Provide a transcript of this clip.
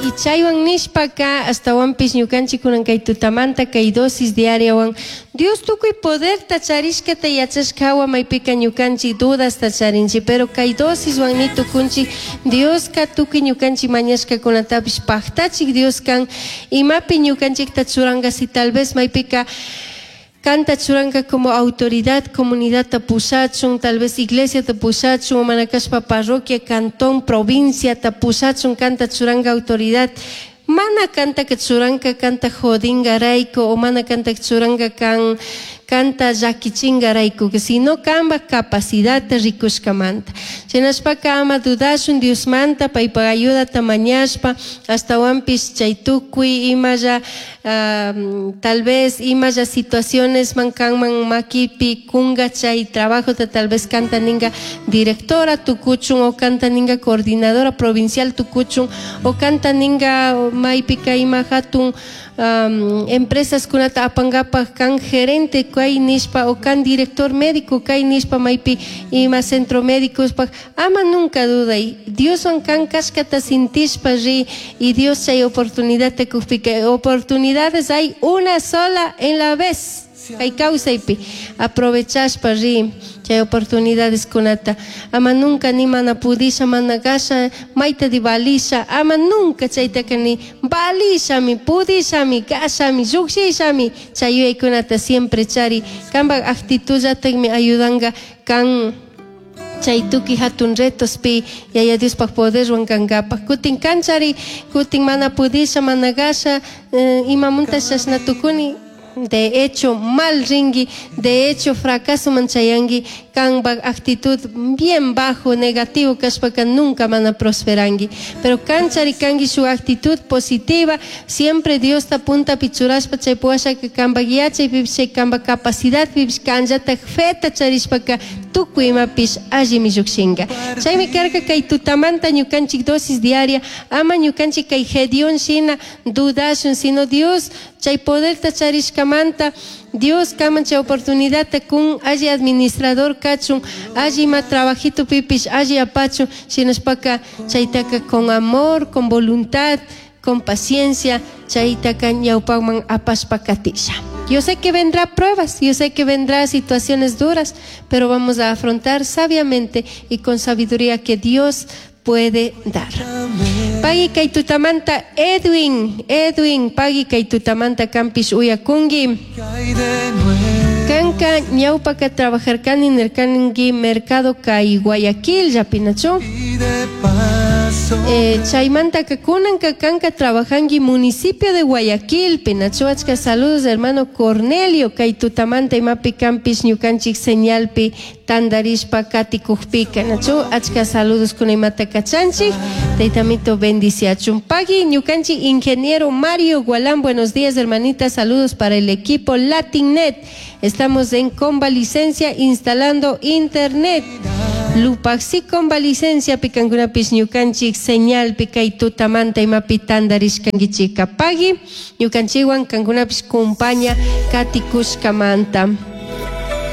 Y chaywan nishpaka ashtawanpish ñukanchik kunan kay tutamanta kay dosis diariawan Dios tukuy poderta charishkata yachashka hawa maypika ñukanchik dudasta charinchik, pero kay dosiswan ni tukunchik Dioska tukuy ñukanchik mañashkakunatapish paktachik Dios kan. Imapi ñukanchikta churanka si tal vez maypika Kanta churanka como autoridad comunidadta pushachun, tal vez iglesiata pushachun, o mana kashpa parroquia, cantón, provinciata pushachun kanta churanka autoridad. Mana kantaka churanka kanta jodingarayku o mana kantaka churanka kan kanta llakichingarayku, sino kambaj capacidadta rikushkamanta. Shinashpaka ama dudashun Diosmanta paypaj ayudata mañashpa, ashtahuanpish chay tucui imalla Tal vez imalla situacionesman kanman maquipi cunga chay trabajota tal vez canta ninga directora tucuchun o canta ninga coordinadora provincial tucuchun o canta ninga maypika ima jatun empresaskunata apangapaj kan gerente kay nishpa o kan director médico kay nishpa maypi ima centro médicospaj. Ama nunca dudai, Dioshuan can cashcata sintishpa ri y Dios chai oportunidadta cujpica, oportunidades hay una sola en la vez cai causaipi, aprovechashpa ri chai oportunidadescunata. Ama nunca ni mana pudisha, mana gasha, maitadi valisha, ama nunca chaitaca ni valishami, pudishami, gashami, llujshishami, chai yuyaicunata siempre chari. Cambaj actitudllatajmi ayudanga can. Chay tukuy hatun retospi Yaya Diospaj poderwan cangapaj. Cutin canchari, cutin mana pudisha, mana gasha, imamunta chashna tucuni? De hecho, mal ringui, de hecho, fracasoman chayangui, cambaj actitud bien bajo, negativo cashpaca nunca mana prosperangui. Pero canchari cangui shuj actitud positiva, siempre Diosta puntapi churashpa chay puwashaca cambaj yachaypipish, chay cambaj capacidadpipish canllataj feta charishpaca Tucui imapish allimi llujshinga. Chaimi carca cai tutamanta ñucanchij dosis diaria, ama ñucanchij cai Gedeón shina dudashun, sino Dios chai poderta charishcamanta, Dios canman chai oportunidadta cun, alli administrador cachun, alli ima trabajitopipish alli apachun, shinashpaca chaitaca con amor, con voluntad, Con paciencia chaitaca ñaupajman apashpa catisha. Yo sé que vendrá pruebas, yo sé que vendrá situaciones duras, pero vamos a afrontar sabiamente y con sabiduría que Dios puede dar. Pagui cai tutamanta Edwin, Edwin, pagui cai tutamanta canpish uyacungui. Canca ñaupaca trabajarcani nircangui mercado cai Guayaquil llapinachu? Eh, chaymantaca cunanca canca trabajangui municipio de Guayaquilpi, nachu? Achca saludos hermano Cornelio, cai tutamanta imapi canpish ñucanchic señalpi Tandarishpa caticujpica, nachu achca saludoscuna imata cachanchij? Taitamito bendiciachun. Pagui ñucanchij ingeniero Mario Gualán, buenos días hermanita, saludos para el equipo Latinnet. Estamos en convalicencia instalando internet. Lupajsi convalicenciapi cancunapish ñucanchij señalpi cai tutamanta imapi tandarishcanguichijca. Pagui ñucanchijhuan cancunapish compaña caticushcamanta.